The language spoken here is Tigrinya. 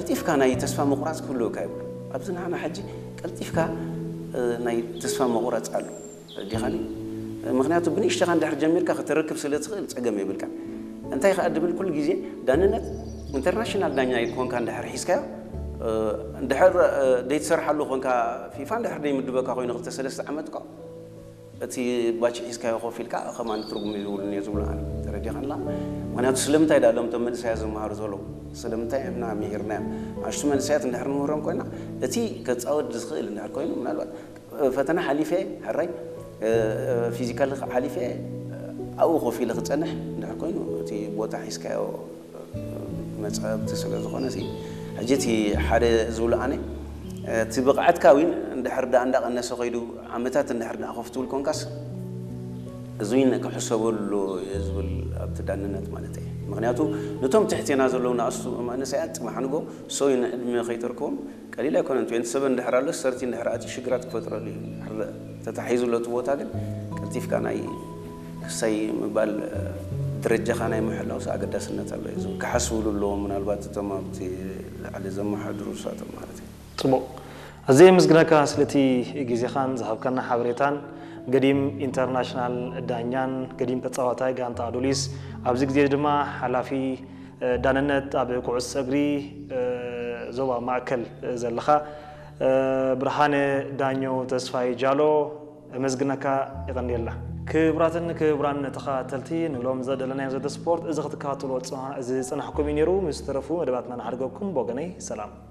ቀልጢፍካ ናይ ተስፋ ምቑራፅ ክህልወካ ይብሉ። ኣብዚ ንዓና ሕጂ ቀልጢፍካ ናይ ተስፋ ምቑራፅ ኣሎ። ዲኻኒ ምክንያቱ ብንእሽተኻ እንድሕር ጀሚርካ ከተረክብ ስለ ትኽእል ፀገም የብልካ። እንታይ ከዓ ድብል ኩሉ ግዜ ዳንነት ኢንተርናሽናል ዳኛ ኮንካ እንድሕር ሒዝካዮ፣ እንድሕር ደይትሰርሓሉ ኮንካ፣ ፊፋ እንድሕር ደይምድበካ ኮይኑ ክልተ ሰለስተ ዓመት እኮ እቲ ባች ሒዝካዮ ኮፍ ኢልካ ከማን ትርጉም ይብሉን እየ ዝብሉ ኣነ። ተረዲኻንላ? ምክንያቱ ስለምንታይ ዳ ሎም ቶም መንእሰያ ዝመሃሩ ዘለዉ? ስለምንታይ እምና ምሂርናዮም? ኣሽቱ መንእሰያት እንድሕር ንምህሮም ኮይና፣ እቲ ከፃወት ዝኽእል እንድሕር ኮይኑ፣ ምናልባት ፈተና ሓሊፈ፣ ሕራይ ፊዚካል ሓሊፈ ኣብኡ ኮፍ ኢለ ክፀንሕ እንድሕር ኮይኑ፣ እቲ ቦታ ሒዝካዮ መፃብቲ ስለ ዝኾነ፣ ሕጂ እቲ ሓደ ዝብሉ ኣነ፣ እቲ ብቕዓትካ እውን እንድሕር ዳ እንዳቐነሰ ከይዱ፣ ዓመታት እንድሕር ዳ ኮፍ ትብል ኮንካስ፣ እዚ እውን ክሕሰበሉ እየ ዝብል ኣብቲ ዳንነት ማለት እየ። ምክንያቱ ነቶም ትሕቴና ዘለዉ ንኣስቱ መንእሰያት ፅባሕ ንጎ ሰው ንዕድመ ከይተርክቦም ቀሊል ኣይኮነን። ትዌንቲ ሰቨን እንድሕር ኣሎ ሰርቲ እንድሕር ኣትዩ ሽግራት ክፈጥረሉ እዩ። እንድሕር ተታሒዙ ኣሎ እቲ ቦታ ግን ቀልጢፍካ ናይ ክሳይ ምባል ደረጃኻ ናይ ምሕላውስ ኣገዳስነት ኣሎ እዩ ዝብል። ክሓስብሉ ኣለዎም ምናልባት እቶም ኣብቲ ላዕሊ ዘመሓድሩ ንሳቶም ማለት እዩ። ፅቡቕ። ኣዝየ የመስግነካ ስለቲ ግዜኻን ዝሃብካና ሓበሬታን። ገዲም ኢንተርናሽናል ዳኛን ገዲም ተፃዋታይ ጋንታ ኣዱሊስ ኣብዚ ግዜ ድማ ሓላፊ ዳንነት ኣብ ኩዕሶ እግሪ ዞባ ማእከል ዘለኻ ብርሃነ ዳኘው ተስፋይ ጃሎ እመስግነካ። የቐንየልና። ክቡራትን ክቡራን ተኸታተልቲ ንሎም ዘደለናዮ ዘተ ስፖርት እዚ ክትከታተልዎ ዝፀናሕኩም እዩ ነይሩ። ምስ ተረፉ መደባትና ንሓድገኩም። ብወገነይ ሰላም።